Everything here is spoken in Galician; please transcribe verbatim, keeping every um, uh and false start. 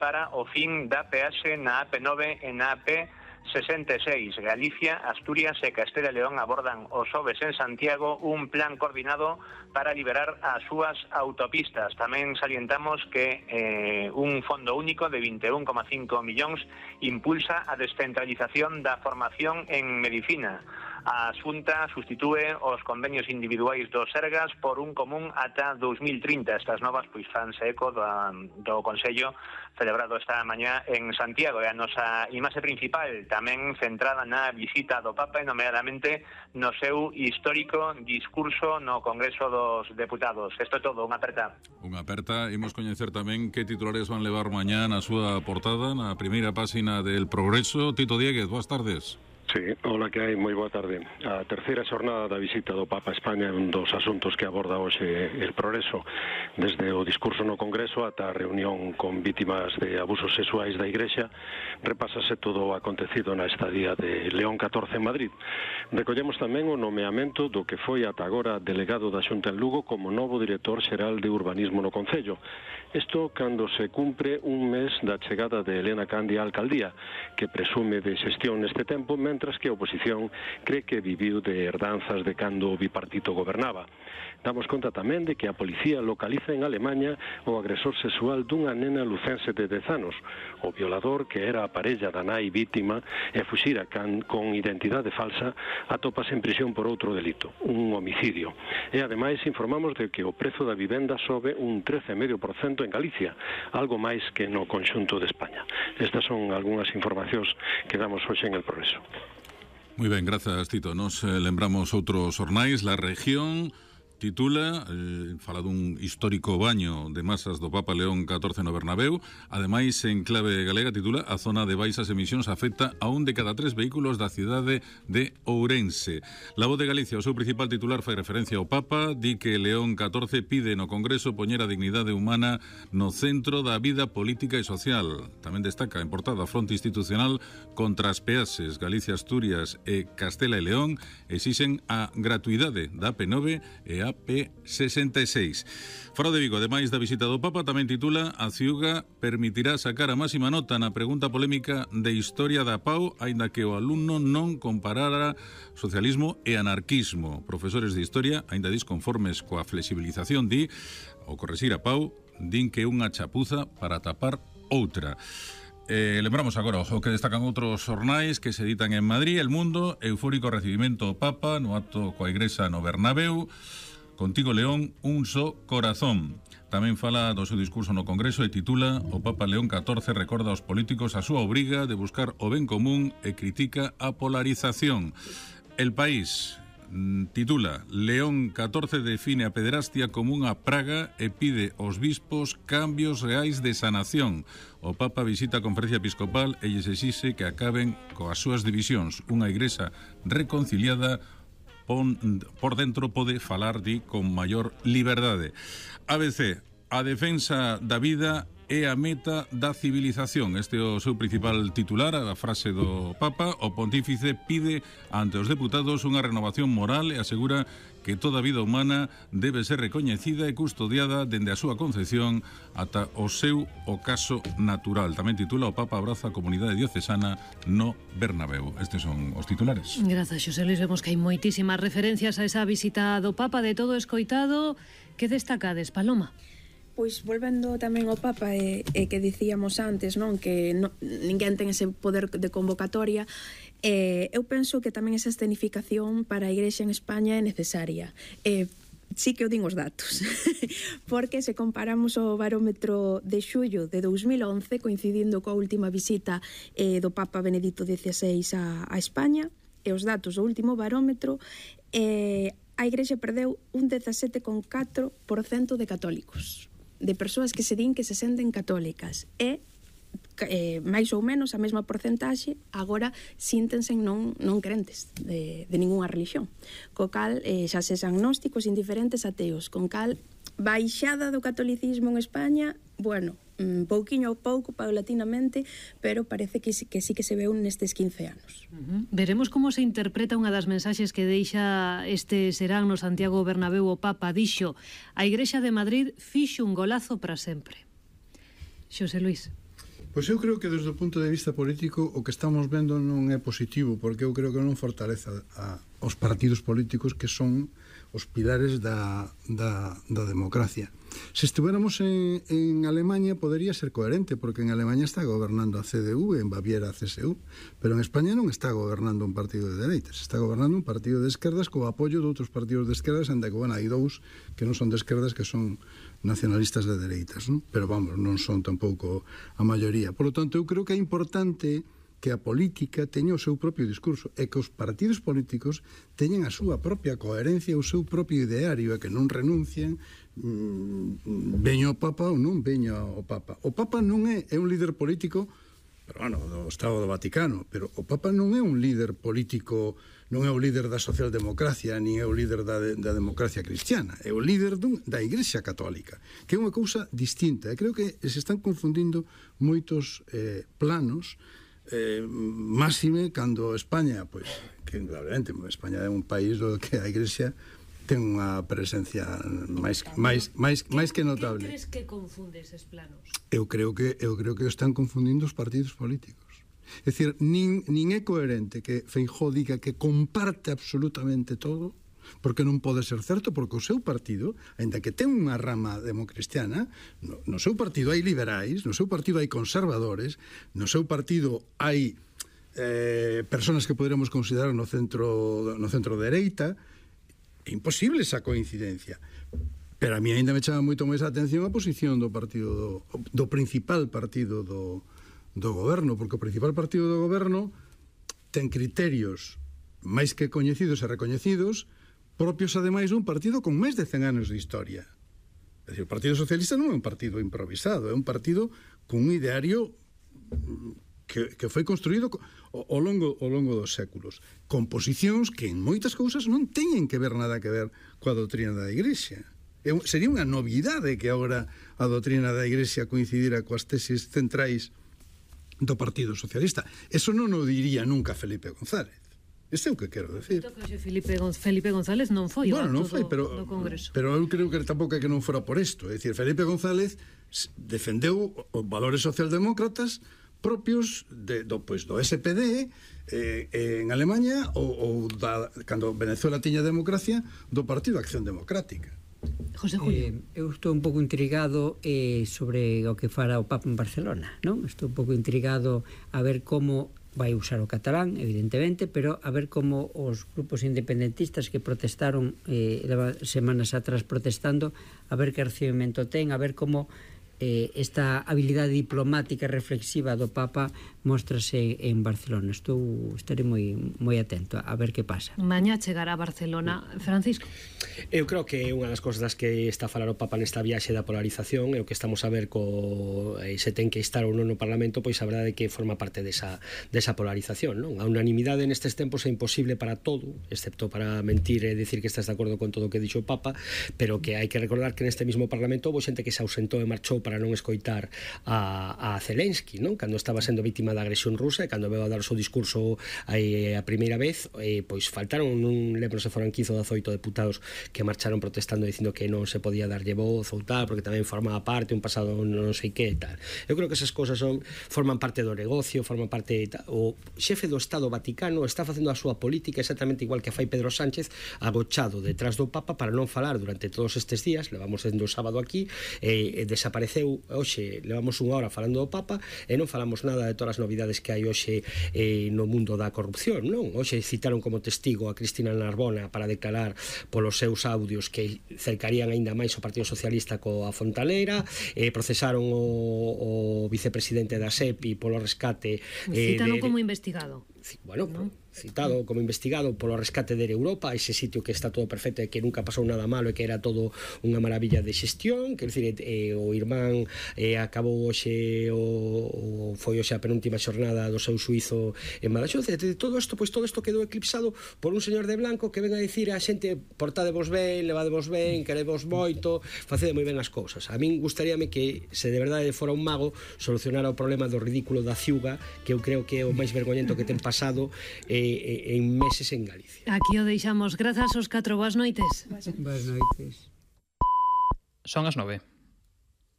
para o fin da peaxe na A P nove e na A P sesenta e seis. Galicia, Asturias e Castela e León abordan o xoves en Santiago un plan coordinado para liberar as súas autopistas. Tamén salientamos que eh, un fondo único de vinte e un coma cinco millóns impulsa a descentralización da formación en medicina. A Xunta sustitúe os convenios individuais dos Sergas por un común ata dous mil trinta. Estas novas pois fanse eco do, do Consello celebrado esta mañá en Santiago. E a nosa imaxe principal tamén centrada na visita do Papa e nomeadamente no seu histórico discurso no Congreso dos Deputados. Isto é todo, unha aperta. Unha aperta, imos coñecer tamén que titulares van levar mañá na súa portada, na primeira páxina del Progreso. Tito Dieguez, boas tardes. Sí, hola, que hai? Moi boa tarde. A terceira xornada da visita do Papa a España é un dos asuntos que aborda hoxe el Progreso, desde o discurso no Congreso ata a reunión con vítimas de abusos sexuais da Igrexa. Repásase todo o acontecido na estadía de León catorce en Madrid. Recollemos tamén o nomeamento do que foi ata agora delegado da Xunta en Lugo como novo director xeral de urbanismo no Concello. Isto cando se cumpre un mes da chegada de Elena Candia á alcaldía, que presume de xestión neste tempo, mentras que a oposición cree que viviu de herdanzas de cando o bipartito gobernaba. Damos conta tamén de que a policía localiza en Alemanha o agresor sexual dunha nena lucense de dez anos. O violador, que era a parella da nai vítima e fuxira can, con identidade falsa, atópase en prisión por outro delito, un homicidio. E ademais informamos de que o prezo da vivenda sobe un trece coma cinco por cento en Galicia, algo máis que no conxunto de España. Estas son algunhas informacións que damos hoxe en el Progreso. Moi ben, grazas, Tito. Nos eh, lembramos outros xornais. La Región titula, eh, fala dun histórico baño de masas do Papa León catorce no Bernabéu. Ademais, en clave galega, titula a zona de baixas emisións afecta a un de cada tres vehículos da cidade de Ourense. La Voz de Galicia, o seu principal titular, fai referencia ao Papa, di que León catorce pide no Congreso poñer a dignidade humana no centro da vida política e social. Tamén destaca en portada a fronte institucional contra as peaxes. Galicia, Asturias e Castela e León exixen a gratuidade da A P nove e a A P sesenta e seis. Fora de Vigo, ademais da visita do Papa, tamén titula a Ciuga permitirá sacar a máxima nota na pregunta polémica de Historia da P A U, aínda que o alumno non comparara socialismo e anarquismo. Profesores de Historia, aínda disconformes coa flexibilización, di, ao correxir a P A U, din que é unha chapuza para tapar outra. Eh, lembramos agora o que destacan outros xornais que se editan en Madrid. El Mundo, eufórico recibimento ao Papa no acto coa Igrexa no Bernabéu. Contigo, León, un só corazón. Tamén fala do seu discurso no Congreso e titula o Papa León catorce recorda aos políticos a súa obriga de buscar o ben común e critica a polarización. El País titula León catorce define a pederastia como unha praga e pide aos bispos cambios reais de sanación. O Papa visita a Conferencia Episcopal e lles exixe que acaben coas súas divisións. Unha igrexa reconciliada por dentro pode falar, di, con maior liberdade. A B C, a defensa da vida é a meta da civilización. Este é o seu principal titular, a frase do Papa. O pontífice pide ante os deputados unha renovación moral e asegura que toda a vida humana debe ser recoñecida e custodiada dende a súa concepción ata o seu ocaso natural. Tamén titula o Papa abraza a comunidade diocesana no Bernabéu. Estes son os titulares. Grazas, Xosé Luis. Vemos que hai moitísimas referencias a esa visita do Papa. De todo escoitado, que destacades, Paloma? Pois volvendo tamén ao Papa e, e que dicíamos antes, non, que no, ninguén ten ese poder de convocatoria. Eh, eu penso que tamén esa escenificación para a Igrexa en España é necesaria. Eh, sí que o din os datos, porque se comparamos o barómetro de xullo de dous mil once, coincidindo coa última visita eh, do Papa Benedicto dieciséis a, a España, e os datos do último barómetro, eh, a Igrexa perdeu un dezasete coma catro por cento de católicos, de persoas que se din que se senten católicas, e eh, máis ou menos a mesma porcentaxe agora síntense non, non crentes de, de ninguna religión, co cal eh, xa ses agnósticos, indiferentes, ateos, con cal baixada do catolicismo en España, bueno, un pouquiño a pouco, paulatinamente, pero parece que, que sí que se veu nestes quince anos. Uh-huh. Veremos como se interpreta unha das mensaxes que deixa este serán no Santiago Bernabéu. O Papa dixo: a Igrexa de Madrid fixo un golazo para sempre. Xosé Luis. Pois eu creo que desde o punto de vista político o que estamos vendo non é positivo, porque eu creo que non fortaleza a, os partidos políticos que son os pilares da, da, da democracia. Se estuéramos en, en Alemania podería ser coherente, porque en Alemania está gobernando a C D U e en Baviera a C S U, pero en España non está gobernando un partido de dereitas, está gobernando un partido de esquerdas co apoio de outros partidos de esquerdas, enda que, bueno, hai dous que non son de esquerdas, que son nacionalistas de dereitas, non? Pero vamos, non son tampouco a maioría. Por lo tanto, eu creo que é importante que a política teña o seu propio discurso e que os partidos políticos teñan a súa propia coherencia, o seu propio ideario, e que non renuncien mmm, veño o Papa ou non veño o Papa. O Papa non é, é un líder político, pero bueno, do Estado do Vaticano, pero o Papa non é un líder político, non é o líder da socialdemocracia, nin é o líder da, da democracia cristiana, é o líder dun, da Igrexa Católica, que é unha cousa distinta. E creo que se están confundindo moitos eh, planos, eh, máxime cando España, pois, que indudablemente España é un país do que a Igrexa ten unha presencia máis máis máis máis que notable. Que crees que confunde eses planos? Eu creo que eu creo que están confundindo os partidos políticos. É dicir, nin nin é coherente que Feijóo diga que comparte absolutamente todo, porque non pode ser certo, porque o seu partido, aínda que ten unha rama democristiana, no, no seu partido hai liberais, no seu partido hai conservadores, no seu partido hai eh, personas que poderemos considerar no centro no centro dereita. É imposible esa coincidencia. Pero a mí ainda me chama moito máis a atención a posición do partido do, do principal partido do, do goberno, porque o principal partido do goberno ten criterios máis que coñecidos e recoñecidos, propios ademais dun partido con máis de cen anos de historia. É dicir, o Partido Socialista non é un partido improvisado, é un partido con un ideario que, que foi construído ao longo, ao longo dos séculos, con posicións que en moitas cousas non teñen que ver nada que ver coa doutrina da Igrexa. É, sería unha novidade que agora a doutrina da Igrexa coincidira coas teses centrais do Partido Socialista. Eso non o diría nunca Felipe González. Este é o que quero decir. Felipe, Gonz Felipe González non foi bueno, non o foi, do, pero, do Congreso. Pero eu creo que tampouco é que non fora por isto. É dicir, Felipe González defendeu os valores socialdemócratas propios de, do, pois, do S P D eh, en Alemanha ou, ou da, cando Venezuela tiña democracia, do Partido Acción Democrática. José Julio. Eh, eu estou un pouco intrigado eh, sobre o que fará o Papa en Barcelona, non? Estou un pouco intrigado a ver como vai usar o catalán, evidentemente, pero a ver como os grupos independentistas que protestaron eh, semanas atrás protestando, a ver que recibimento ten, a ver como eh, esta habilidade diplomática reflexiva do Papa móstrase en Barcelona. Estou, estarei moi, moi atento a ver que pasa. Mañá chegará a Barcelona. Francisco? Eu creo que unha das cousas das que está a falar o Papa nesta viaxe da polarización é o que estamos a ver co eh, se ten que estar ou non no Parlamento, pois a verdade é que forma parte desa, desa polarización, non? A unanimidade nestes tempos é imposible para todo, excepto para mentir e dicir que estás de acordo con todo o que dixo o Papa, pero que hai que recordar que neste mismo Parlamento houve xente que se ausentou e marchou para non escoitar a, a Zelensky, non? Cando estaba sendo vítima da agresión rusa e cando veu a dar o seu discurso aí, a primeira vez, eh, pois faltaron, non lembro se foran quince ou dezoito deputados que marcharon protestando dicindo que non se podía darlle voz ou tal, porque tamén formaba parte un pasado non sei que e tal. Eu creo que esas cousas son, forman parte do negocio, forman parte tal. O xefe do Estado Vaticano está facendo a súa política exactamente igual que fai Pedro Sánchez, agochado detrás do Papa para non falar durante todos estes días. Levamos dende o sábado aquí e, e desapareceu hoxe, levamos unha hora falando do Papa e non falamos nada de todas as novidades que hai hoxe eh, no mundo da corrupción, non? Hoxe citaron como testigo a Cristina Narbona para declarar polos seus audios que cercarían aínda máis o Partido Socialista coa Fontanera, eh, procesaron o, o vicepresidente da S E P I polo rescate eh, citaron de, como investigado. Bueno, ¿no? Citado mm. como investigado polo rescate de Europa, ese sitio que está todo perfecto e que nunca pasou nada malo e que era todo unha maravilla de xestión, quer dicir, eh, o irmán eh, acabou hoxe o, o foi hoxe a penúltima xornada do seu suizo en Badaxoz, e de todo isto, pois todo isto quedou eclipsado por un señor de blanco que ven a dicir a xente portadevos ben, levadevos ben, querevos moito, facede moi ben as cousas. A min gustaríame que se de verdade fora un mago solucionara o problema do ridículo da ciuga, que eu creo que é o máis vergoñento que ten pasado eh, en meses en Galicia. Aquí o deixamos. Grazas aos catro. Boas noites. Boas noites. Son as nove.